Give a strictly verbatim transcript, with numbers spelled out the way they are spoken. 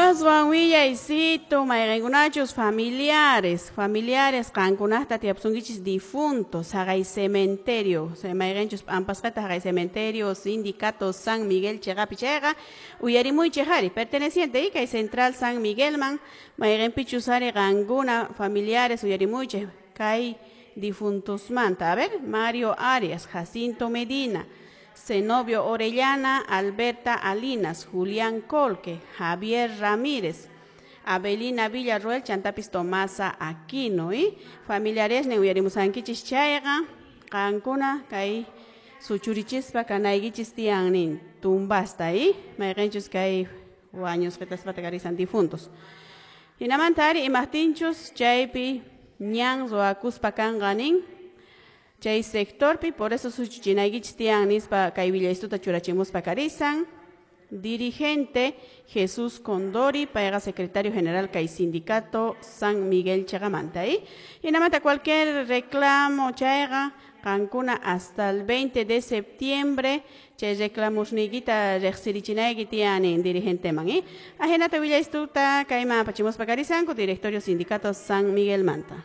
Aswan willaysitu mayqinkunachus familiares, familiares qankunaqta tiyapusunkichis difuntos haqay cementerio, mayqinchus p'ampasqata haqay cementerio sindicato San Miguel chiqapi chayqa uyarimuychik ari perteneciente kay Central San Miguelman mayqinpichus ari qankuna familiares uyarimuychik kay difuntosmanta. A ver, Mario Arias, Jacinto Medina, Zenobio Orellana, Alberta Alinas, Julián Colque, Javier Ramírez, Abelina Villarroel, chantapis Tomasa Aquino, ¿eh? Familiares nin uyarimusankichis chayqa qankuna kay suchurichispa kanaykichis tiyan nin tumbasta, ¿eh? Mayqinchus kay wañusqitaspata karisan difuntos. Hinamanta ari imaqtinchus chaypi ñan ruwakuspa kanqa nin chay sectorpi, por eso suchuchinaykichis tiyan nispa kay willaystuta churachimuspa karisan. Dirigente Jesús Condori, payqa secretario general kay sindicato San Miguel chiqamanta, ¿eh? Hinamanta cualquier reclamo chayqa qankuna hasta el veinte de septiembre chay reclamusniykita riqsirichinayki tiyan nin dirigenteman, ¿eh? Ahinata willaystuta kayman apachimuspa karisanku directorio sindicato San Miguel manta.